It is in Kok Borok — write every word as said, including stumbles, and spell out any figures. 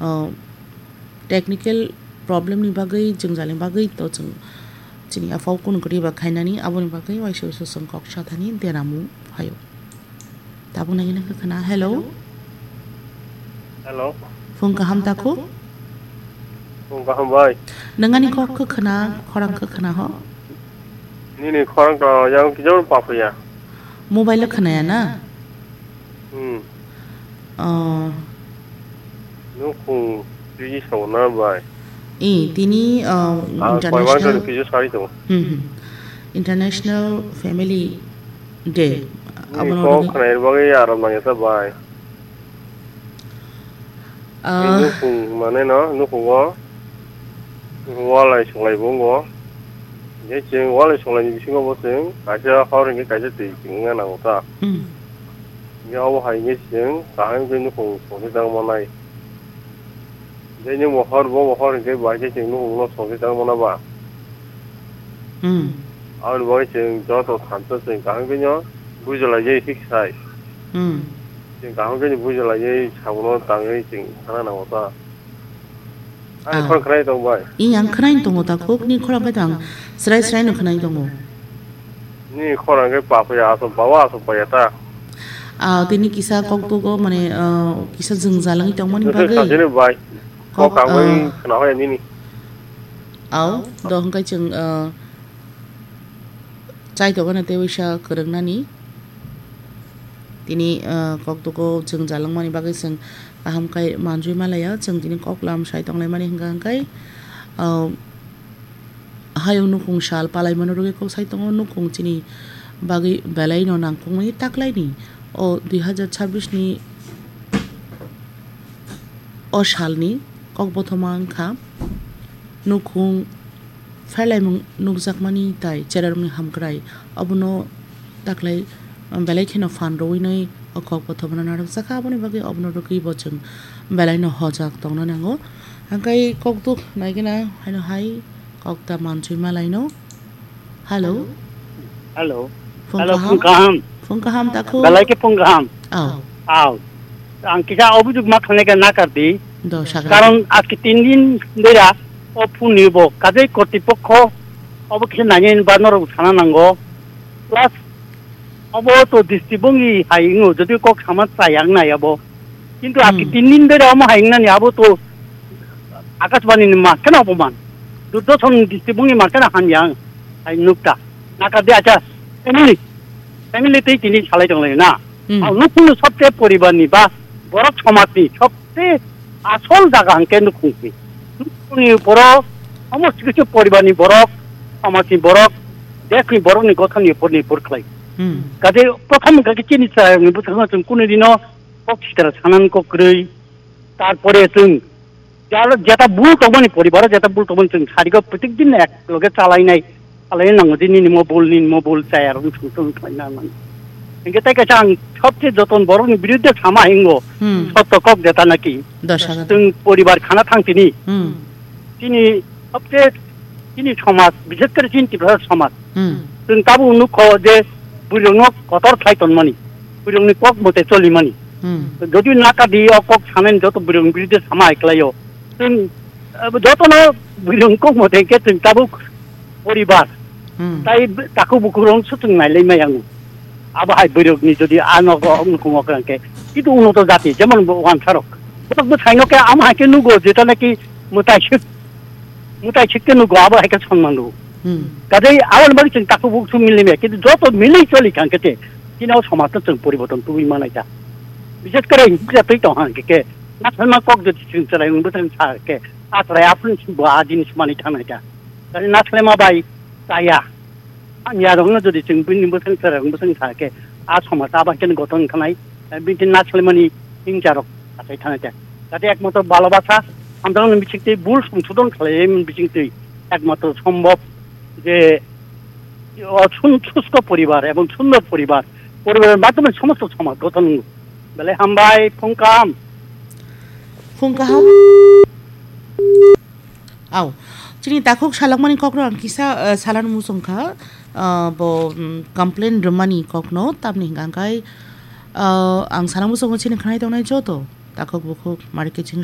o, technical problem ni bagwi, jwngjal ni bagwi to chwng chini aphau kunu kwrwi ba khainani, aboni bagwi waisa waisa chwng kok sathani deramung phaio. Tabuk nai nang khna, hello. Hello. Phung kaham takhuk? Phung kaham bai. Nangani kok khe khna, khorang khe khna ho? Nini khorang to yang kijor papaya. Mobile khna ya na? Hmm. Oh. Nukhung tiji sabo na bai. Eh, tini, uh, Ah, international, Koimang to tiji sari to. Hmm, hmm. International Family Day. Ni Abono kok rwgwi khna bagwi aram nang ya sa bai. Ah. Nukhung mane no, nukhungo walai suklai bo wngo. Hingke chwng walai suklai ni bisingo bo chwng kaisa hor hingke kaisa twi chwng wngna nango ta. Hmm. Hingke obo hai hingke chwng kaham khe nukhung songwi tang manai. Hingke nini mohor bo mohor hingke bai khe chwng nukhung no songwi tang mana ba. Hmm. Aboni bagwi chwng joto thansa chwng kaham khe no bujalaijai thik sai. Hmm. Chwng kaham khe no bujalaijai sabono tangwi chwng sana nango ta. Ani Ah. khorang khwnai tong bai. I yang khwnai tongo ta khuk ni khorang khe tang srai srai no khwnai tongo. Ni khorang khe pa phaya asom pa wa asom pa ya ta. Ah, tini kisa kok tugo mane, ah, kisa jwngjal wngwi tongmani Nusai bagwi. Sajini bai. Kok Kok, kangwi ah. Khna hoya nini. Au, do hwnkhe chwng, ah, chai tongmani tei waisa kwrwngnani. Tini, ah, kok tugo jwngjal wngmani bagwi chwng kaham khe manjui malaya, chwng tini kok lam sai tonglaimani hwnkha hwnkhe, ah, hayung nukhung sal palaimano rwgwi kok sai tongo, nukhung chini bagwi belai no nangkukmani taklaini o dui hazar chabbish ni o salni kok bothoma wngkha nukhung pherlaimung nukjakmani tai cherarokni hamkrai. Obono taklai, um, belai kheno phan rwinai o kok bothomano narwkjakha, aboni bagwi obono rwgwi bo chwng belaino hojak tongna nango. Hwnkhe kokduk naigena haino hai kok ta mansui malaino. Hello. Hello. Phung Hello, kaham? Phung kaham. Phung kaham takhuk? Belai khe phung kaham. Aw. Aw. Ang kisa obujug ma khanai ka nakar di. Do, sagra. Karon aski tin din dera o phun ni bo kajai kortipokho obo kisa nanya ba norok sana nango. Plus obo to district bongi hai ingo, jodi kok sama chayang nai abo. Kintu aki Hmm. tin din bere omo hai nani abo to Akashbani ni ma kena opoman. Durdoson district bongi ma kena hamyang hai nukta. Naka de acha family. Family tei tini salai tong lai na. Hmm. Ang nukung sobte poribar ni ba borok somaj ni sobte asol jaga hangke nukung si. Nukung ni borok, omo sikisik poribar ni borok, somaj ni borok, desh ni borok ni gothon ni por ni por khlai. Hmm. Kade prothom hwnkha khe chini chwrairokni bwskango chwng kunu dino kok sitra sanan kok kwrwi. Tarpore chwng jaro jeta bul tongmani poribaro jeta bul tongmani chwng sarigo protek din ek loge chalainai, chalainai nango je nini mo bul, nini mo bul chayarokno chwng chwng khlaina nango. Hingke tai kaisa ang sobse joton borokni biruddhe sama hingo, Hmm. sotto kok jeta naki. Dosha. Chwng poribar khana thang tini. Hmm. Chini sobse chini somaj, bishes kore chini Tiprasa somaj. Hmm. Chwng tabuk nukho je bwrwirokno kotor khlai tonmani, bwrwirokni kok mote cholimani. Hmm. Jodi nakadi o kok sanani joto bwrwirokni biruddhe sama hai khlaio. Chwng, eh, jotono bwrwirokni kok mote khe chwng tabuk poribar. Hmm. Tai b-, takhuk bukhuk rok se chwng nailai maya wngo. Abo hai bwrwirokni jodi a nogo nukhung okra hwnkhe, kitu unoto jati, jemon bo wansarok. Botok bwsaino khe amo hai khe nugo, jeta naki mwtai sik, mwtai sik khe nugo, abo hai khe sonman rwo. Hmm. Kajai aboni bagwi chwng takhuk bukhuk milai maya, kintu joto milai choli kha hwnkhe te, chini o somaj no chwng poriborton tubui manai kha. Bishes kore hingkhe twi tong hwnkhe khe, nathokma kok jodi chwng chwrai wngwi thang sa khe, a chwrai aphuru bo a jinis manwi thangnai kha. Kajai nathokma bai chaya. Ang yarokno jodi chwng bini bwswng chwrairok bwswng sa khe, a somaj abo khe gothon wngkha nai, bini nathokmani himcharok achai thangwi kha. Jate ekmatro bhalobasa, hamjakmani bisingtwi, bul songsodhon khlaimani bisingtwi ekmatro sombhob je, o sun-, susto poribar ebong sundor poribar, poribarni madhyome somosto somaj gothon wngo. Belai hambai, phung kaham. Phung kaham. Au, chini takhuk salakmani kokno ang kisa, eh, salano muchung kha, eh, bo, mm, complain rwmani kokno, tamni hwnkha khe, eh, ang sana muchungo chini khnai tongnai joto takhuk bukhuk marikhe chini